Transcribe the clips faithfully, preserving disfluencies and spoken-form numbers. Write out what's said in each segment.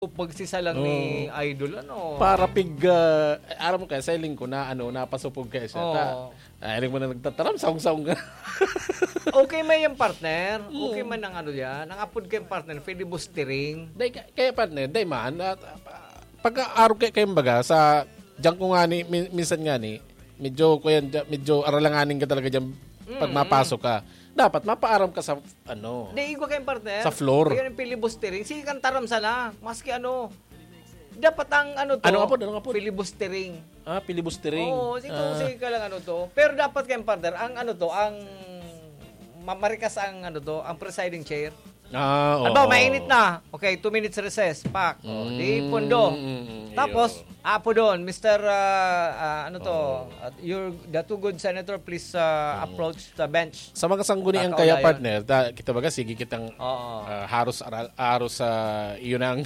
Pagsisa lang ni Idol, ano? Para pig, ah, aram mo kaya, sa hiling ko na, ano, napasupog kaya siya. Oo. Ta-, ah, hiling mo na nagtataram, saong-saong ka. Okay man yan, partner. Mm. Okay man ang ano yan. Ang apod kayong partner, filibustering. Dai ka-, kaya, partner, dai man. At, ah, pagka-arog kaya kayong baga, sa, diyan ko nga ni, min-, minsan nga ni, medyo, kuya, medyo aralanganin ka talaga diyan pag Mm, mapasok ka. Dapat mapaaram ka sa, ano, Di, igwa kayong partner. Sa floor. Kaya yung filibustering, sige kang taram sana. Maski ano. Dapat ang ano to, Ano nga po? Ano nga po? Filibustering. Ah, filibustering. Oo, sige, Ah. sige ka lang ano to. Pero dapat kayong partner, ang ano to, ang mamarikas ang ano to, ang presiding chair. Ah, Ano ba, oo. mainit na. Okay, two minutes recess. Pak. Oh, di Mm, pundo. mm, mm, Tapos, iyo. apo doon, Mister, ah, ah, ano to, Oo. at your, the two good senator, please, ah, Mm. approach the bench. Sa mga sangguniang Kakaulayan. kaya, partner, ta-, kita baga, sige kitang, Oo. ah, haros aral-, haros sa iyo nang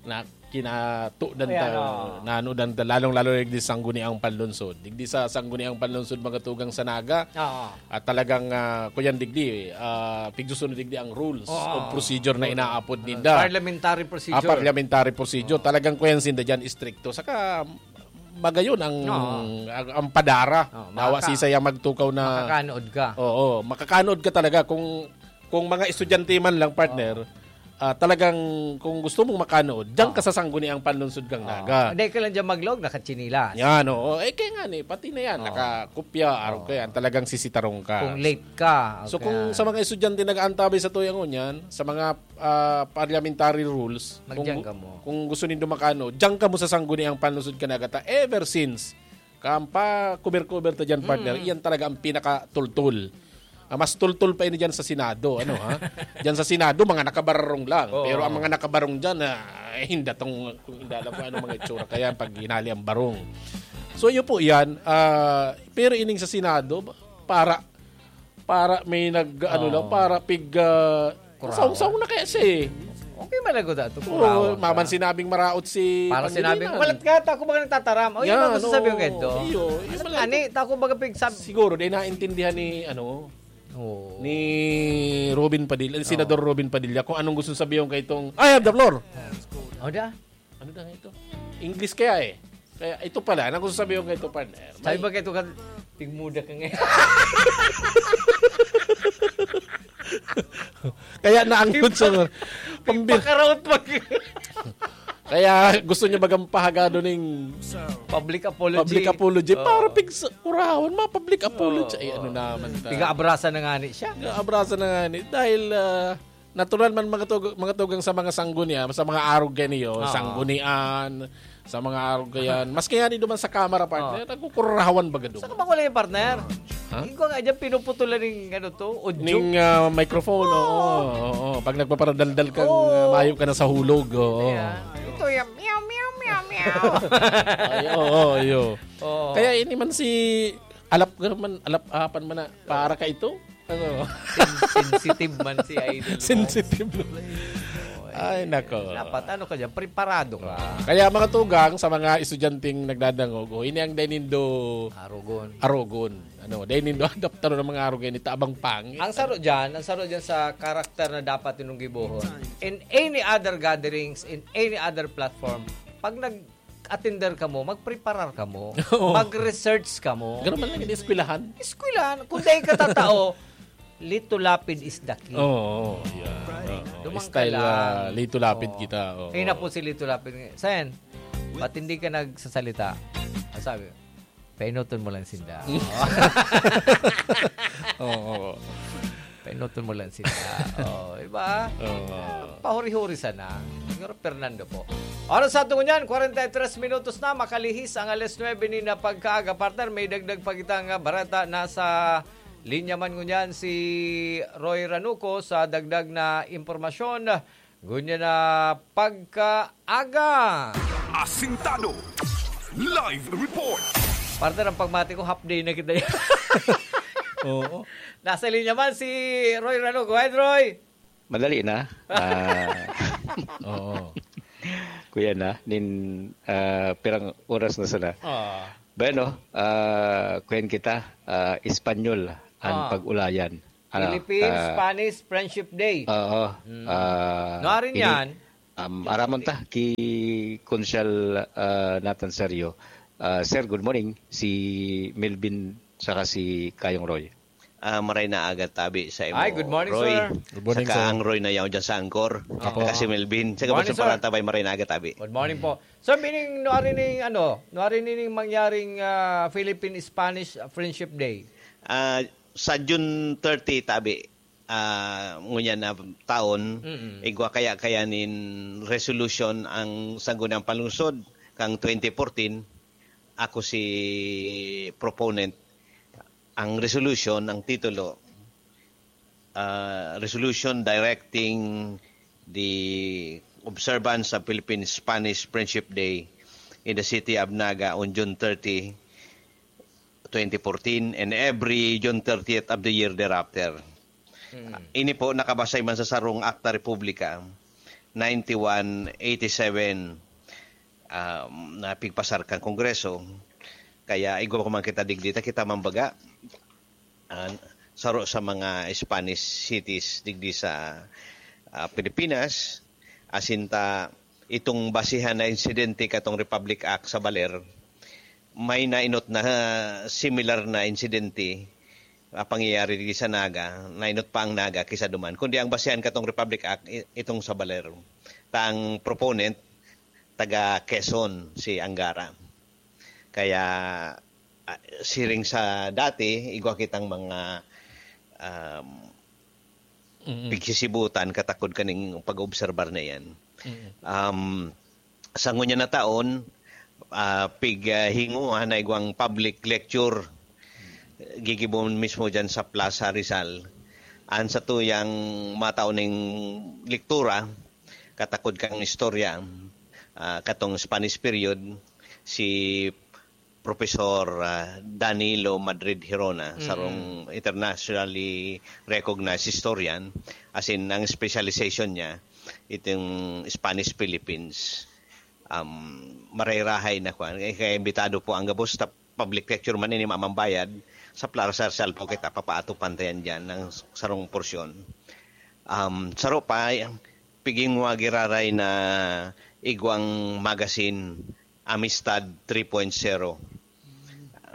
na kinatudan Ayan, ta, oo. nanudan ta, lalong-lalo na digdi sa sangguniang panlungsod. Digdi sa sangguniang panlungsod, mga tugang sa Naga, Oo. at talagang, ah, kuyan digdi, ah, pigsusunod digdi ang rules Oo. of procedure na Rules. inaapod ninda. Parliamentary procedure. Ah, parliamentary procedure. Oo. Talagang kuyan sinda dyan, istrikto. Saka, magayon ang, Oo. ang, ang padara. Oo, Dawa makaka-, sisay ang magtukaw na makakanood ka. Oo, makakanood ka talaga kung, kung mga estudyante man lang, partner, Oo. ah, talagang kung gusto mong makanood, diyan Oo. ka sa sangguniang panlungsod kang Oo. Naga. Hindi ka lang dyan maglog, nakatsinilas. Yan, oo. Eh, kaya nga ni, pati na yan, Oo. nakakopya, arog Oo. ka yan, talagang sisitarong ka. Kung late ka, So, okay. kung sa mga estudyante nag-aantabay sa tuyang ngunyan, sa mga, ah, parliamentary rules, Magdiyan kung gu-, kamo. kung gusto nindo makanood, diyan kamo sa sangguniang panlungsod kan Naga ta ever since. Kampa, kuber-kuber ta dyan, partner. Mm. Iyan talaga ang pinakatultol. Ah, mas tultol pa ini dyan sa Senado, ano, ha? Dyan sa Senado, mga nakabarong lang. Oo. Pero ang mga nakabarong dyan, ah, eh, hinda tong, kung hindi alam kung anong mga itsura. Kaya pag hinali ang barong. So, yun po yan. Ah, pero ining sa Senado, para, para may nag, ano Oo. lang, para pig, ah, Kurawa. saong-saong na kaya siya eh. Okay man lagot ato, Oo, kurawa ka. maman sinabing maraot si Para Pangilinan. sinabing, "Walat ka, ta ako ba nagtataram?" O, yun Yan, ang gusto sabihin oo. ko ito. Iyo, yun Ano lang. nga ni, ta ako baga pigsab- Siguro, di naintindihan ni, ano, Oo. ni Robin Padilla, ni Oo. Senador Robin Padilla, kung anong gusto sabihin kay itong, "I have the floor." O, da? Ano na ito? English kaya eh. Kaya ito pala, anong gusto sabihin kay ito, partner? Sabi May ba kay ito ka, pigmuda ka ngayon? Kaya naangkon sa pambi- Pakaraot mag- Kaya gusto niya magampahagado ning Public apology. public apology Oo. para pigsa-, urawan, ma-public apology. Oo. Ay, ano naman ta? Piga-abrasa na nga ni siya. Piga-abrasa na nga ni. Dahil, ah, natural man mga tug-, mga tugang sa mga sanggunian, sa mga arog kayo, Oo. sanggunian, sa mga arog yan. Mas kaya ni duman sa kamara, partner, Oo. nagkukurawan baga duman. Saan ka ba wala yung partner? Ha? Ikaw nga dyan, pinuputulan ng ano to, audio. Ning, ah, microphone, Oo. oo, oo. Pag nagpaparadaldal kang, Oo. ah, mayo ka na sa hulog, oo. Ayan. Ito yung meow, meow, meow, meow. Ay, oo, iyo. Oo. Kaya ini man si alap ka man, alap-apan man na, para ka ito? Ano? Sen-, sensitive man si Idol mo. Sensitive. Oo, eh. Ay, nako. Dapat ano ka dyan, preparado ka. Kaya mga tugang sa mga estudyanteng nagdadangog, o, ini ang dai nindo Arogon. arogon. Ano, dai nindo adaptaron ang mga arogon, ini tabang pangit. Ang saro dyan, ang saro dyan sa karakter na dapat nindong gibohon. In any other gatherings, in any other platform, pag nag-attender kamo, magpreparar kamo, Oo. mag-research kamo. Ganun man lang yung eskwelahan. Eskwelahan, kung dai ka tatao, Lito Lapid is the king. Oo, oo, yeah. Oo, Dumang ka style, lang. ah, Lito Lapid Oo. kita, oo. Kayo na po si Lito Lapid. Sen, ba't hindi ka nagsasalita? Ang sabi, "Painuton mo lang sinda." Oo, oo. "Painuton mo lang sinda." Oh, iba? Oo. Pahuri-huri sana. Siguro Fernando po. Oras sa tungo niyan, kwarenta y tres minutos na, makalihis ang alas nuebe ni na pagkaaga. Partner, may dagdag pa kitang, ah, bareta. Nasa linya man ngunyan si Roy Ranuco sa dagdag na impormasyon. Ngunyan na pagkaaga. Asintado. Live report. Partner, ang pagmati ko, half day na kita yan. Oo. Nasa linya man si Roy Ranuco. Go ahead, Roy. Madali na. Ah, Oo. kuya na, nin, ah, pirang oras na sana. Ah. Bueno, ah, kuyan kita, ah, Espanyol, ang Ah. pag-ulayan. Ano, Philippines, ah, Spanish Friendship Day. Oo. Mm. Ah, Nuarin ini-, yan. Um, aramon ta ki Konsyal, ah, Nathan Serio. Ah, sir, good morning. Si Melvin saka si Kayong Roy. Ah, maray na aga tabi sa imo, Ay, good morning, Roy. Sir. Good morning, Saka sir. Ang Roy na yaw dyan sa Angkor. Opo. Saka si Melvin. Saka Morning, Boss sir. Parang Tabay, maray na aga tabi. Good morning po. So, meaning, nuari ning, ano, nuari ning mangyaring, ah, Philippine-Spanish Friendship Day? Ah, sa June thirty, tabi, ah, ngunyan na taon, Mm-mm. igwa kaya, kaya nin resolution ang Sangguniang Panlungsod kang twenty fourteen, ako si proponent. Ang resolution, ang titulo, ah, resolution directing the observance of Philippine-Spanish Friendship Day in the city of Naga on June thirty, twenty fourteen, and every June thirtieth of the year thereafter. Mm. Ini po nakabasay man sa sarong Akta Republika ninety-one eighty-seven, um, na pigpasar kan Kongreso. Kaya igwa ko man kita digdi, ta kita man baga, ah, saro sa mga Spanish cities digdi sa, ah, Pilipinas. Asin ta, itong basihan na insidente katong Republic Act sa Baler, may nainot na similar na insidente, ah, pangyayari digdi sa Naga, nainot pa ang Naga kaysa duman. Kundi ang basihan katong Republic Act, i-, itong sa Baler. Ta ang proponent, taga Quezon, si Angara. Kaya, ah, siring sa dati, igwa kitang mga, um, Mm-mm. pigsisibutan katakod kaning pag-obserbar na yan. Mm-mm. Um, sa ngunyan na taon, ah, pig, ah, hinguha na igwang public lecture, gigibon mismo dyan sa Plaza Rizal. An sa tuyang mataon ning lektura, katakod kang istorya, ah, katong Spanish period, si Professor, ah, Danilo Madrid Hirona, Mm. sarong internationally recognized historian, as in, ang specialization niya, itong Spanish Philippines. Um, marayrahay na kwan. Eh, kaya imbitado po ang gabos, ta-, public lecture man ini, mamambayad, sa Plaza Rizal po kita, papaatopan ta yan dyan, ng sarong porsyon. Um, saro pa, piging giraray na igwang magazine, Amistad three point zero.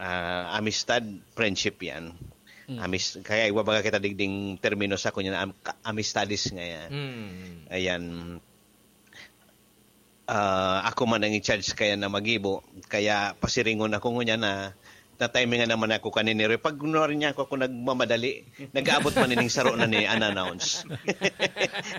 Ah, amistad, friendship yan. Mm. Amis-, kaya ibabaga kita digding termino sa kunya na am-, ka-, amistadis nga yan. Mm. Ayan. Ah, ako man ang in-charge kaya na magibo, kaya pasiringon ako ngunyan na, na-timing nga naman ako kanini. Pag kunwari niya ako, ako nagmamadali, nag-aabot man ining saro na ni unannounced.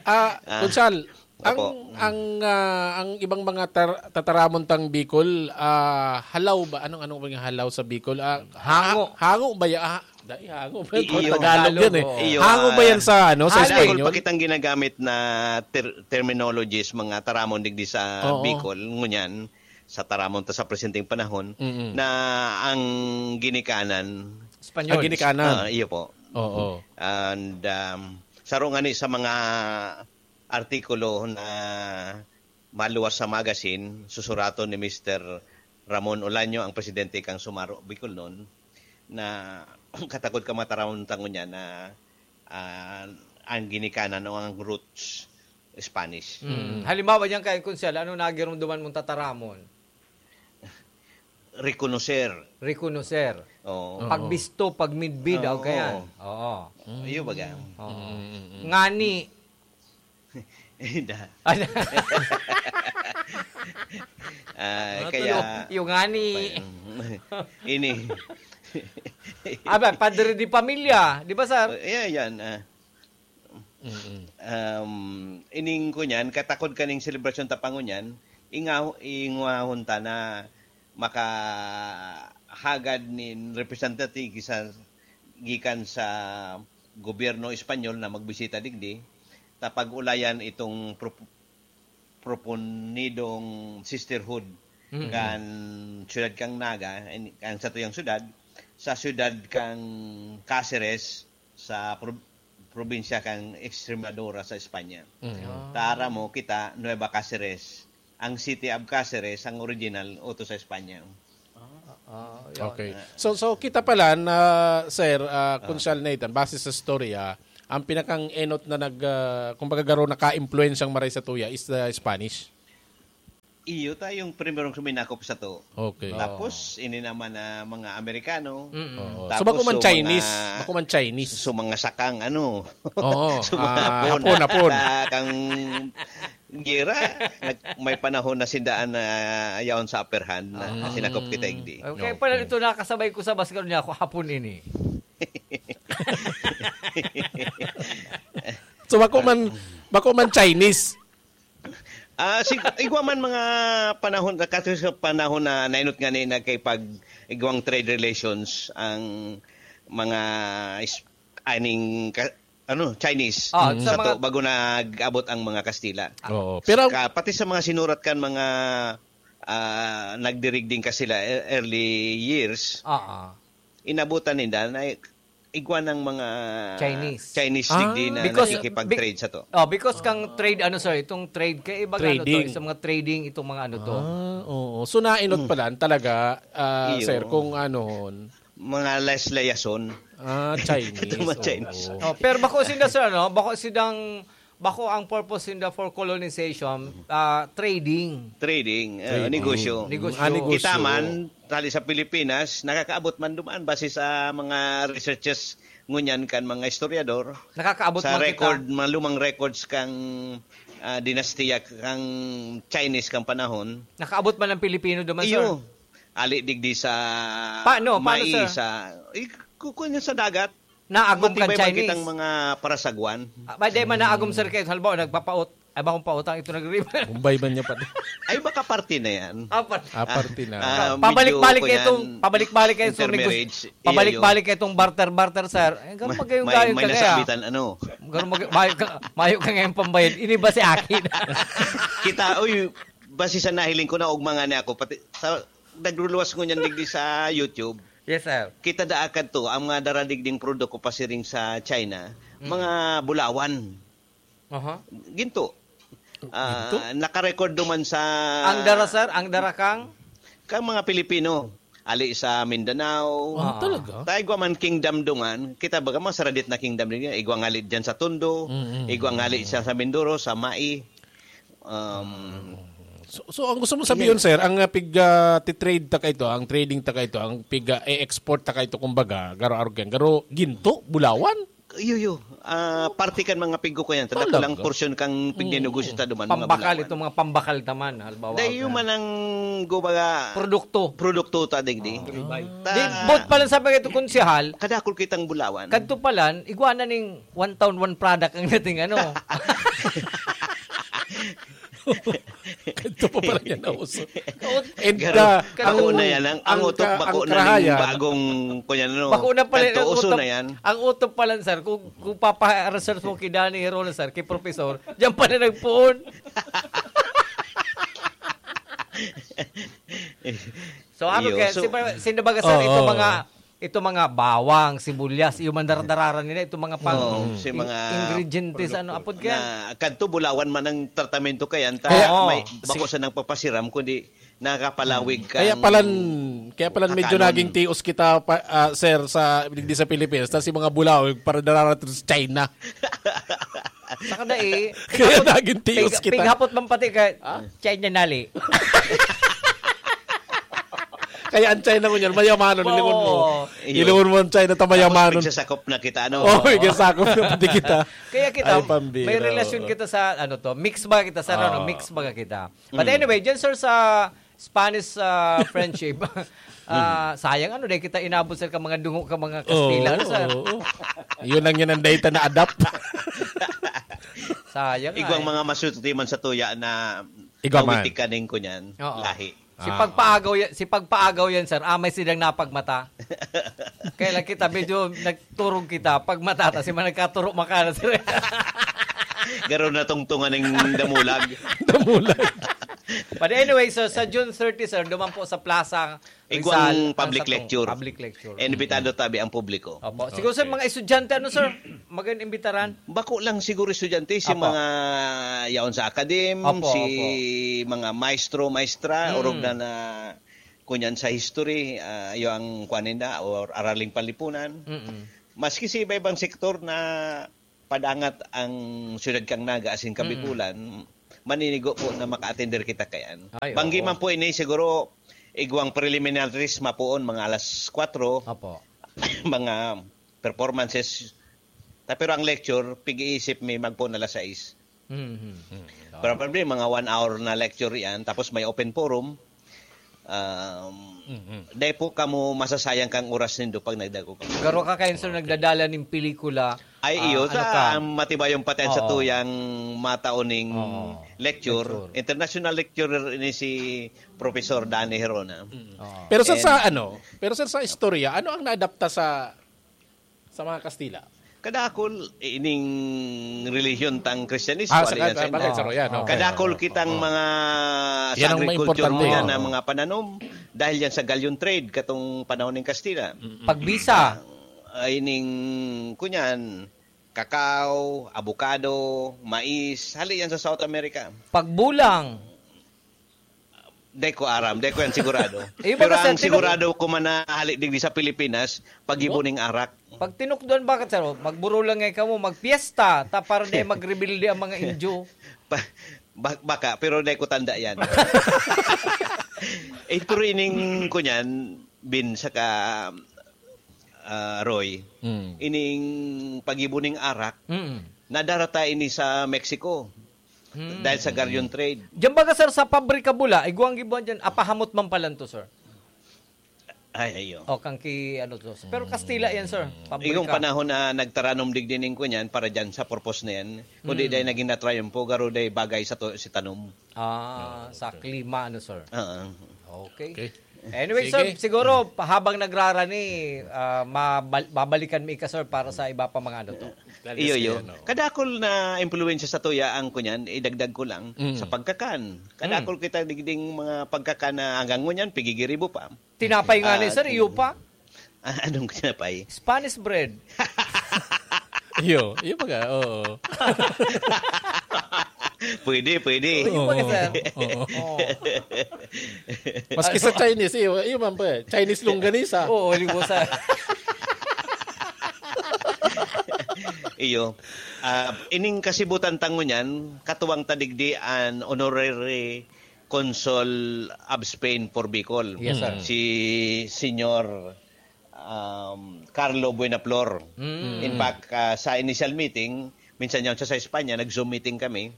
Ah, Ah, Kunsal, ang, opo. Ang, ah, ang ibang mga tar-, tataramon tang Bicol, ah, halaw ba? Anong, anong mga halaw sa Bicol? Ah, Hango. ha-, hango ba ya-, ah, dai, hango ba? I-, iyo. Tagalog Tagalog yan eh. oo. Iyo, Hango ba ah, yan sa, ano, sa Haloy. Espanyol? Dakul pa kitang ginagamit na ter-, terminologies, mga taramon digdi sa Oo. Bicol, ngunyan, sa taramon ta sa presenteng panahon, Mm-mm. na ang ginikanan Espanyol. Ah, ginikanan. Ah, iyo po. Oo. And, um, saro nga ni sa mga artikulo na maluwas sa magazine, susuraton ni Mister Ramon Olaño, ang presidente kan Sumaro Bicolnon, na katakod ka mataramon tango niya na, ah, ang ginikanan o ang roots, Spanish. Mm. Halimbawa diyan kay Kunsel, ano nagirumduman mong tataramon? Reconocer. Reconocer. Oo. Oo. Pagbisto, pagmidbid, Oo. okay yan. Oo. Iyo baga. Oo. Mm, mm, mm. Ngani. Inda. Ano? Ah, Ano kaya to? Yung ngani. Ini. Aba, padre de pamilya, di ba, sir? Eh, yan, ah. Mm-mm. Um, ining ko niyan, katakod kaning selebrasyon ta pangunyan, ingaw-, ingwahon ta na makahagad nin representative sa, gikan sa gobyerno Espanyol na magbisita digdi, ta pag-ulayan itong pro-, proponidong sisterhood Mm. kan siyudad kang Naga, in-, kan satuyang siyudad, sa siyudad kang Caceres, sa prob-, probinsya kan Extremadura sa Espanya. Mm. Ah. Tara mo kita, Nueva Caceres. Ang City of Caceres, ang original, oto sa Espanya. Ah, ah, yun. Okay. So, so kita pala na, sir, ah, Ah. Kunsal Nathan, base sa storya, Ang pinakang enot na nag, ah, kumbaga garo naka-impluwensyang maray sa tuya is the Spanish. Iyo ta yung primerong suminakop sa to. Okay. Tapos, ini naman na mga Amerikano. Mm-mm. Oo. So, Tapos, bako man so, Chinese. mga Bako man Chinese. So, mga sakang, ano. Oo. So, mga Ah, Hapon. Hapon, Hapon. Sa kang gira, nag-, may panahon na sindaan na yaon sa upper hand na Ah. sinakop kita, igdi. Okay, No. pala ito nakasabay ko sa basketball niya ako hapon ini. So, bako man, bako man Chinese. Ah, si, igwa man mga panahon, kasi sa panahon na nainot nga ni nagkipag igwang trade relations ang mga is-, aning ka-, ano, Chinese. Ah, sa Sa mga to, bago nag-abot ang mga Kastila. Oo. Pero Ka-, pati sa mga sinurat kan mga, ah, nagdirigding Kastila, e-, early years, Ah, ah. inabutan ninda na igwa ng mga Chinese. Chinese Ah. digdi na Because, nakikipag-trade bi-, sa to. oh, because kang trade, ano, sir, itong trade, kaiba ano to, Trading. sa mga trading, itong mga ano to. Ah, oo. So, nainot Mm. pala talaga, ah, Iyo. sir, kung ano, Mga les-, layason. Ah, Chinese, Itong mga oo. Chinese. Oh, pero bako sinda, sir, ano? Bako sindang, bako ang purpose sinda for colonization, ah, trading. Trading, eh, Trading. negosyo. Negosyo. Ah, negosyo. Kita man, tali sa Pilipinas, nakakaabot man duman base sa mga researches ngunyan kan mga historiador. Nakakaabot Sa man kita. record, mga lumang records kang, ah, dinastiya kang Chinese kang panahon. Nakaabot man ang Pilipino duman, Iyo. sir? Ali digdi sa Paano? Paano, mai, sir? sa, eh, kukuha niya sa dagat. Naagom kan Matibay man Chinese? kitang mga parasagwan. Ah, may di man naagom, sir, kayo. Halimbawa, nagpapaut-, ay, bakong pautang ito nagriba. Bombay man niya pati. Ay, baka parte na yan. Apat. Ah, parte na. Ah, Pabalik-balik medyo kayo itong, kuyan, pabalik-balik kayo itong negos-, intermarriage. Iyo, pabalik-balik kayo itong barter-barter, sir. Eh, ganun May, magayong may, gayon may ka kaya. nasabitan, ano. Ganun mag-, mayo ka, mayo ka ngayon pambayad. Ini ba si akin? Kita, uy, base sa nahiling ko, naugma nga niya ako, pati sa, nagluluwas ko niyan digdi sa YouTube. Yes, sir. Kita da akad to, ang mga daradigding produkto pasiring sa China, Mm. mga bulawan. Aha. Ginto. Ah, Ginto? nakarecord duman sa Ang dara, sir? Ang dara kang? Kang mga Pilipino. Ali sa Mindanao. Ah, Ah. talaga? Ta igwa man kingdom dungan, kita baga mga saradit na kingdom din yan. Igwa ngali dyan sa Tondo, Mm, mm, igwa mm, ngali mm. siya sa Mindoro, sa Mai. Um, So, so ang gusto mo sabihin, Yan. sir, ang, ah, pig, ah, ti-trade ta kaito, ang trading ta kaito, ang pig, ah, e-export ta kaito, kumbaga, garo arog yan. Garo ginto, bulawan? Iyo, iyo. Ah, parte kan mga pigko ko yan. Talaga? Talaga lang porsyon kang Mm. pignenegosyo ta duman, mga Pambakal, bulawan. itong mga pambakal taman, halimbawa, Dahil yung ah, manang, kumbaga, produkto. produkto ta, digdi. Ah. Ta Di, bot pa lang sabi ka ito, konsehal, Kadakol kitang bulawan. kadto pa lang, igwa na ning one town, one product ang dating, ano. Ito pa pala yan na uso. And, Garo, ah, bako ang, na yan. Ang, ang ang utok ka-, bako ang na ning karahayan. bagong, kunyan, ano. Bako na pala Kanto, ang uso utok, na yan. ang utok pala, sir, kung, kung papa-research mo kay Danny Hero, sir, kay Professor, diyan pala nagpoon. So, ano Iyo, kaya, so si ba-, sino ba, sir, Oo. itong mga, itong mga bawang, sibuyas, yung mandaradararan nila, itong mga pang Oo, si in-, mga ingredientes, ano, produkto apod kaya? na kadto bulawan man ang tratamento kayan, ta Kaya, Oo. may, bako si- sa nagpapasiram, kundi nakapalawig Mm. Kaya kang palan-, kaya palan medyo hakanon. naging tios kita, pa, ah, sir, sa, digdi sa Pilipinas, tas si mga bulawan, para dararating sa China. Saka na eh, Kaya pighapot, naging tios pig-, kita. pighapot man pati ka, Ah? China nali. Kaya ang China ngunyan, mayamanon, Oo. ilingon mo. Iyo. Ilingon mo ang China, ta Tapos mayamanon. magsasakop na kita, ano? Oh, Oo. magsasakop na pati kita. Kaya kita, Ay, pambira, may relasyon oo. kita sa, ano to, mix ba kita sa, ano, Oo. mix ba kita? But Mm. anyway, dyan, sir, sa Spanish, ah, friendship, ah, Mm. sayang, ano, dahil kita inabot, sir, ka mga dungo, ka mga Kastila, Oo, sir. oo. Yun lang yan ang data na adapt. Sayang, Igwang ay. mga masuti man sa tuya na Igwa man. nawitik kaning kunyan, Oo. lahi. Si Ah. Pagpaagaw yan, si Pagpaagaw yan, sir. Ah, may silang napagmata. Kaya lang kita, medyo nagturog kita. Pag matata, si man nagkaturo makana, sir. Garo na tungtungan ng damulag. Damulag. But anyway, so sa June thirty, sir, duman po sa Plaza Igwang Rizal, ang public sa tong lecture. public lecture. Imbitado tabi ang publiko. Opo. Siguro sa Okay. mga estudyante, ano, sir? Magandang imbitaran? Bako lang siguro estudyante, si Opo. mga yaon sa akadim, Opo, si opo. mga maestro, maestra, Mm. orog na na kunyan sa history, ah, iyo ang kuwan ninda, or araling panlipunan. Mm-mm. Maski sa iba-ibang sektor na padangat ang siyudad kan Naga asin Kabikulan, maninigo po na maka-attender kita kayan. Ay, Banggi oo. man po ini, siguro, igwang preliminaries mapoon, mga alas kwatro, Opo. mga performances. Ta, pero ang lecture, pig-iisip mi magpoon alas sais. Mhm. Probably, mga one hour na lecture yan, tapos may open forum. Um, Mhm. Dai po kamo masasayang kang oras nindo pag nagdagko kamo. Garo ka kayo, sir, Okay. nagdadala ning pelikula. Ay, Ah, iyo, ano sa ka? ang matibayong paten sa Oo. tuyang mataon ning Oo. lecture. Lecture. International lecturer ini si Professor Danny Herona. Oo. Pero sa, And sa ano, pero sa, sa istorya, ano ang naadapta sa, sa mga Kastila? Kadakol, ining relihiyon tang Kristyanismo, Ah, sa aliyan sa ka-, bagay, India. sa royan, Oo. okay. Kadakol Oo. kitang Oo. mga sa Yan ang agriculture maimportante. mo yan, Oo. na mga pananom, dahil yan sa galleon trade, katong panahon ng Kastila. Mm-mm. Pagbisa. Ah, ining, kunyan, kakao, abukado, mais, hali yan sa South America. Pagbulang. Dai ko aram, dai ko yan sigurado. Iyo ba Pero kasi ang tingnan mo sigurado ko man na hali digdi sa Pilipinas, pag-ibo ning arak. Pag tinukdoan, bakit, sir? Magburo lang ngay kamo, magpiesta, ta para di magrebelde ang mga Indio. Pa-, ba-, baka, pero dai ko tanda yan. Eh, pero ining kunyan, Bin, saka, ah, Roy, Mm. ining pag-ibo ning arak, Mm. nadarata ini sa Mexico. Mm. Dahil sa galleon trade. Diyan baga, sir, sa pabrika bula, igwang gibuan diyan, apahamot man palan to, sir. Ay, ayo. O, kan ki, ano to. Pero Kastila yan, sir. Pabrika. Igong panahon na nagtaranom digdi ning kunyan para diyan sa purpose na yan, kundi Mm. dahil naging na-triumph, garo dahil bagay sa to, si tanom. Ah, Oo, sa okay. klima, ano, sir? Oo. Okay. Okay. Anyway, Sige. sir, siguro, habang nagrarani, ah, mabal-, babalikan mi ka, sir, para sa iba pa mga ano to. Iyo, iyo. Ano? Kadakol na impluwensya sa tuya ang kunyan, idagdag ko lang, Mm. sa pagkakan. Kadakol Mm. kita digding mga pagkakan na hanggang ngunyan, pigigiribo pa. Tinapay nga ni Ah, sir, iyo pa. Ah, anong tinapay? Spanish bread. Iyo, iyo baga, oo. Pwede, pwede. Iyo baga, sir. Oo. Oo. Maski sa Chinese, iyo, iyo man pa eh. Chinese longganisa. Oo, longganisa. Iyo. Ah, ining kasibutan tango niyan, katuwang tadigdi an honorary Consul of Spain for Bicol, Yes, sir. si Senyor, um, Carlo Buenaflor. Mm. In fact, ah, sa initial meeting, minsan yan siya sa Espanya, nag-Zoom meeting kami.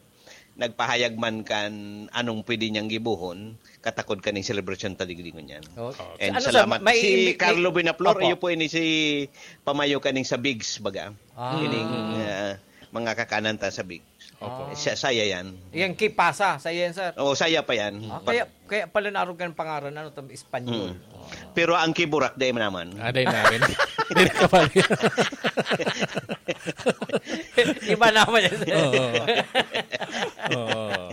Nagpahayag man kan anong pwede niyang gibohon, katakod kaning selebrasyon ta digdi ngunyan. Oh. And Ano, sir, salamat. may Si imbi-, may Carlo Buenaflor, Opo. iyo po ini si pamayo kaning sa bigs, baga. Ah. Kining, ah, mga kakanan ta sa bigs. Opo. Ah. Sa-, saya yan. Yan, kipasa, saya yan, sir. Oo, saya pa yan. Ah, Pa- kaya, kaya pala naarog ka ng pangaran, ano, tam-, Espanyol. Mm. Pero ang kiburak, dai man naman. Ah, dai namin. Dai na kabali. Iba naman yan, sir. Oo. Oo.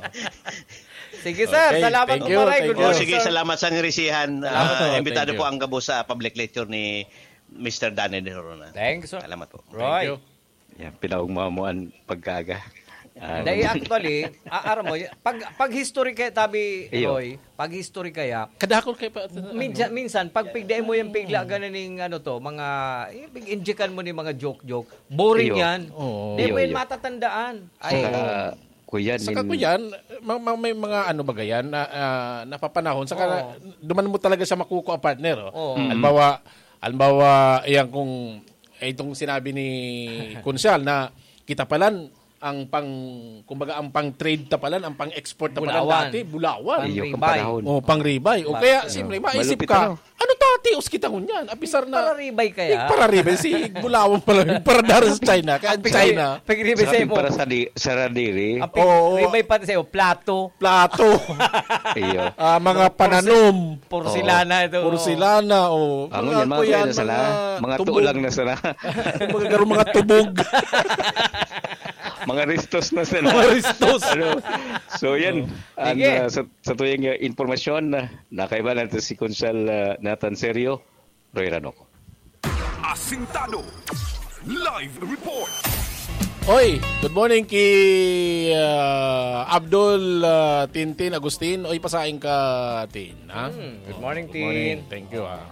Sige, sir. Okay, Salamat thank po, you, Maray. thank Good O, you. morning, sige, sir. salamat sa ngirisihan. Salamat Ah, po. imbitado Thank po you. ang gabos sa public lecture ni Mister Danny de Rona. Thank you, sir. Salamat po. Roy. Thank you. Yan, pinaugma mo ang pagkaaga. Ah, Dahil actually, a-, aram mo, y-, pag, pag history kaya, tabi, Iyo. Roy, pag history kaya, Kadakol kayo pa, minsan, ano? minsan, pag pigdain mo yung pigla, ganan ning, ano to, mga, yung pig-injikan mo ni mga joke-joke, boring Iyo. yan. Oo. Di Iyo, mo yun iyo. matatandaan. Ay, Saka, Kuya, Saka, nin- Kuya, ma-, ma-, may mga ano ba yan, na, ah, napapanahon. Saka, Oo. duman mo talaga siya makukuha, partner, oh. Oo. Mm. Halimbawa, halimbawa, yan kung, eh, itong sinabi ni Kunsyal na kita palan, ang pang, kumbaga, ang pang-trade ta palan, ang pang-export ta palan Bulawan. dati, bulawan. Iyo, Pang-ribay. kampanahon. Oh, pang-ribay. O Ba- kaya, Ano? siyempre, maisip Malupit, ka, ano? ano ta, tios kita ngunyan? Apisar na, Pararibay kaya? Pararibay, si bulawan pala, para dari sa China, kaya Ang pig-, China. pig-ribay Sa sa'yo mo. para sa di-, sa radiri. Ang pig-, Oo. ribay pati sa'yo, plato. Plato. Iyo. Ah, mga Porse-, pananom. porselana Oo. ito, oo. Porselana, oh. Ang Mga yan, mga kuyan, kuya na sana. mga Mga tubog. tulang na sana. Mga garo, mga tubog. Mga ristos na sana. Mga ristos. Ano? So, yan. Oo. Ang, Sige. ah, sa, sa tuyang, ah, impormasyon, ah, nakaiba natin si Konsal, ah, Nathan Serio, Roy Ranoco. Asintado. Live report. Oy, good morning ki, ah, Abdul, ah, Tintin Agustin. Oy, pasaing ka, Tin, ha? Hmm, good morning, Good morning. Tin. Thank you, ah.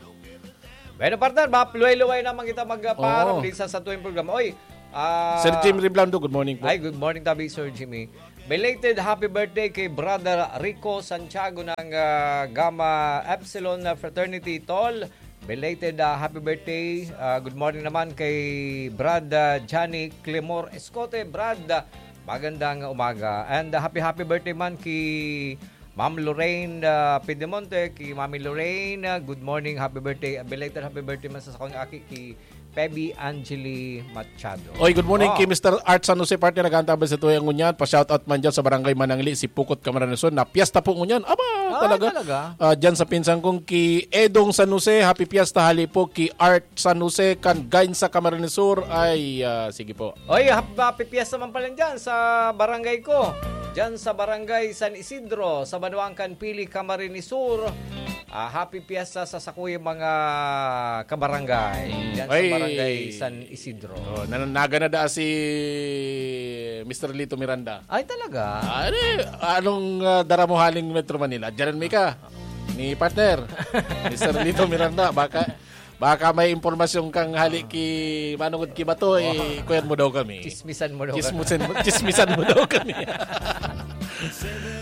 Bueno, partner, ba, luway-luway naman kita magpaaram Oo. din sa, sa tuwing programa. Oy, Ah, Sir Jim Reblando, good morning po. Ay, good morning tabi, Sir Jimmy. Belated happy birthday kay Brother Rico Santiago ng, ah, Gamma Epsilon Fraternity, Tol. Belated, ah, happy birthday. Ah, good morning naman kay Brad, ah, Johnny Clemor Escote. Brad, ah, magandang umaga. And, ah, happy, happy birthday man kay Ma'am Lorraine, ah, Pidemonte, ki Mami Lorraine, ah, good morning, happy birthday, belated happy birthday man sa sakong aki, ki Pebi Angeli Machado. Oy, good morning Oh. kay Mister Art San Jose, partner, nag-aantabay sa tuyang ngunyan. Pa-shoutout man dyan sa Barangay Manangli, si Pukot Camarines Sur, na piyesta po ngunyan. Aba, Ah, talaga. talaga? Ah, dyan sa pinsan kong ki Edong San Jose, happy fiesta, hali po ki Art San Jose, kan Gainsa, Camarines Sur. Ay, ah, sige po. Oy, hap-, happy fiesta man pala dyan sa barangay ko. Dyan sa barangay San Isidro, sa Banwaan kan Pili, Camarines Sur. Ah, happy fiesta sa sakuyang mga kabarangay. Mm. Dyan sa Ay. barangay San Isidro. Oh, nan-, nagana da si Mister Lito Miranda. Ay, talaga? Ah, ano eh, anong, ah, dara mo haling Metro Manila? Diyan may ka. Ni partner, Mister Lito Miranda, baka, baka may impormasyon kang hali ki, manungod ki bato, eh, kuyan mo daw kami. Chismisan mo daw kami. Chismisan mo, chismisan mo daw kami.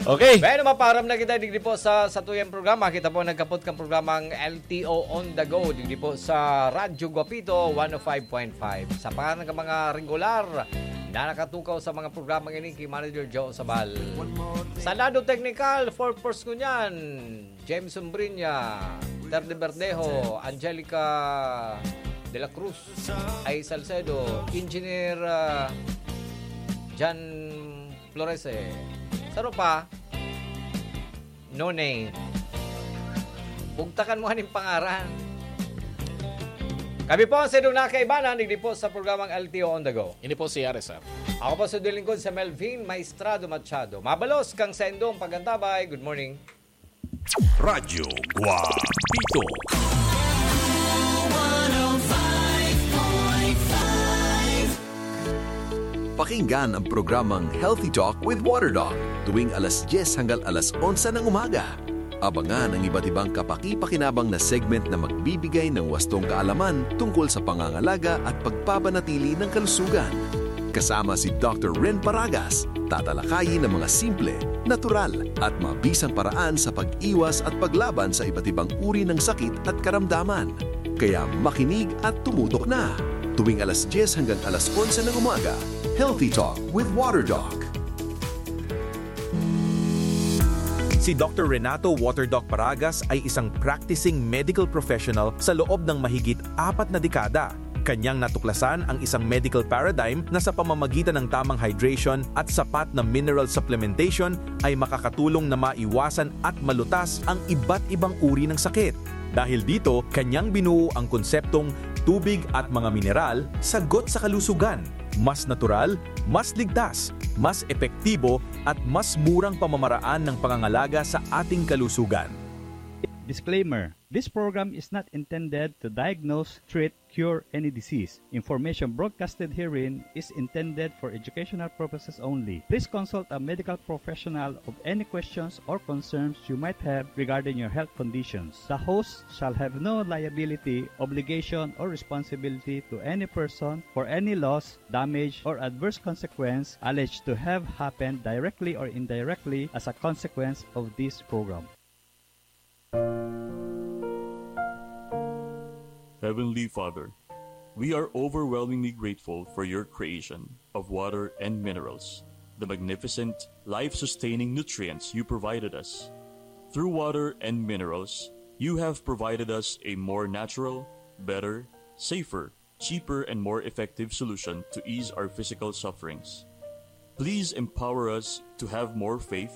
Okay. Bueno, maparam na kita digdi po sa, sa tuyang programa. Kita po nagkapot kang programang L T O on the go digdi po sa Radyo Guapito one oh five point five. Sa pangalan ng mga regular na nakatukaw sa mga programang ini, ki Manager Joe Sabal. Sa lado teknikal, four force ngunyan, Jameson Brinya, Ter de Verdejo, Angelica de la Cruz, Ay Salcedo, Engineer, ah, Jan Florese. Saro pa, no name. Bugtakan mo aning pangaran. Kami po ang Sedong Nakaibanan, digdi po sa programang L T O on the go. Ini po si R S R. Ako po sa lingkod, si Melvin Maestrado Machado. Mabalos kang sendong pagantabay. Good morning. Radyo Guapito. Pakinggan ang programang Healthy Talk with Water Doc tuwing alas dyes hanggang alas onse ng umaga. Abangan ang iba't ibang kapaki-pakinabang na segment na magbibigay ng wastong kaalaman tungkol sa pangangalaga at pagpapanatili ng kalusugan. Kasama si Doctor Ren Paragas, tatalakayin ang mga simple, natural, at mabisang paraan sa pag-iwas at paglaban sa iba't ibang uri ng sakit at karamdaman. Kaya makinig at tumutok na. Tuwing alas dyes hanggang alas onse ng umaga, Healthy Talk with Water Doc. Si Doctor Renato Water Doc Paragas ay isang practicing medical professional sa loob ng mahigit apat na dekada. Kanyang natuklasan ang isang medical paradigm na sa pamamagitan ng tamang hydration at sapat na mineral supplementation ay makakatulong na maiwasan at malutas ang iba't ibang uri ng sakit. Dahil dito, kanyang binuo ang konseptong tubig at mga mineral, sagot sa kalusugan. Mas natural, mas ligtas, mas epektibo, at mas murang pamamaraan ng pangangalaga sa ating kalusugan. Disclaimer: this program is not intended to diagnose, treat, cure any disease. Information broadcasted herein is intended for educational purposes only. Please consult a medical professional of any questions or concerns you might have regarding your health conditions. The host shall have no liability, obligation, or responsibility to any person for any loss, damage, or adverse consequence alleged to have happened directly or indirectly as a consequence of this program. Heavenly Father, we are overwhelmingly grateful for your creation of water and minerals, the magnificent, life-sustaining nutrients you provided us. Through water and minerals, you have provided us a more natural, better, safer, cheaper, and more effective solution to ease our physical sufferings. Please empower us to have more faith,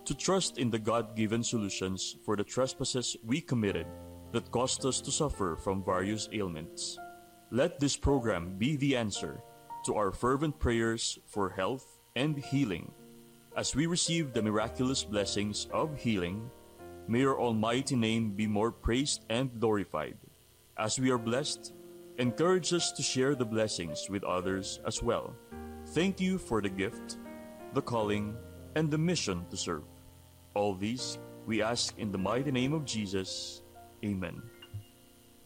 to trust in the God-given solutions for the trespasses we committed that caused us to suffer from various ailments. Let this program be the answer to our fervent prayers for health and healing. As we receive the miraculous blessings of healing, may your almighty name be more praised and glorified. As we are blessed, encourage us to share the blessings with others as well. Thank you for the gift, the calling, and the mission to serve. All these we ask in the mighty name of Jesus. Amen.